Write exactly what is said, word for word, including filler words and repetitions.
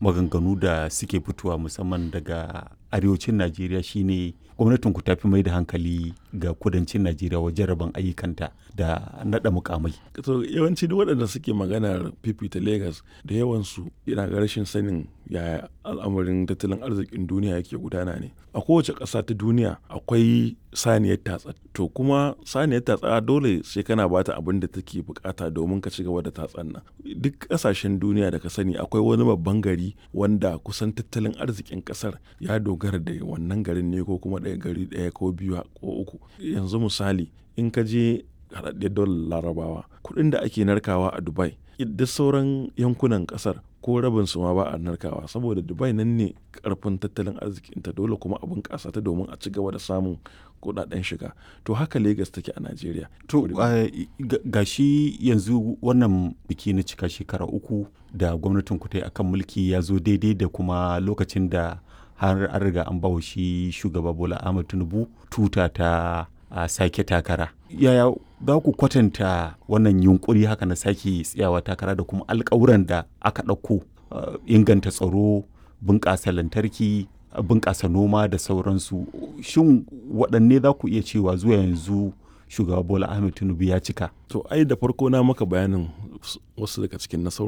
maganganu da suke fitowa musamman daga arewacin Najeriya shine gwamnatin ku tafi mai da hankali ga kudancin Najeriya wajen rabon ayyukanta da naɗa mukamai. To, yawanci duk waɗanda suke maganar fifita Lagos, da yawansu yana ga rashin sanin yaya al'amarin tattalin arzikin duniya yake gudana ne. A kowace ƙasa ta duniya akwai saniyar tatsa. To, kuma saniyar tatsa dole sai kana bata abin da take bukata domin ka ci gaba da tatsan nan. Duk ƙasashen duniya da ka sani akwai wani babban gari wanda kusan tattalin arzikin ƙasar ya dogara da wannan garin ne, ko kuma ɗaya gari ɗaya ko biyu ko uku. Yanzu misali, in ka je Haɗaɗɗiyar Daular Larabawa, kuɗin da ake narkawa a Dubai, duk sauran yankunan ƙasar ko rabin su ma ba a narkawa, saboda Dubai nan ne karfin tattalin arzikinta, dole kuma a bunƙasa ta domin a ci gaba da samun kuɗaɗen shiga. To, haka Lagos take a Najeriya. To, ga shi yanzu wannan biki na cika shekara uku da gwamnatin ku ta yi akan mulki ya zo daidai da kuma lokacin da har an riga an bawa shi shugaba Bola Ahmed Tinubu tuta ta a sake takara. Yaya za ku kwatanta wannan yunkuri haka na sake tsayawa takara da kuma alkawuran da aka ɗauko, inganta tsaro, bunƙasa lantarki, bunƙasa noma da sauransu? Shin waɗanne za ku iya cewa zuwa yanzu shugaba Bola Ahmed Tinubu ya cika? To, ai da farko na maka bayanin wasu daga cikin nasarori.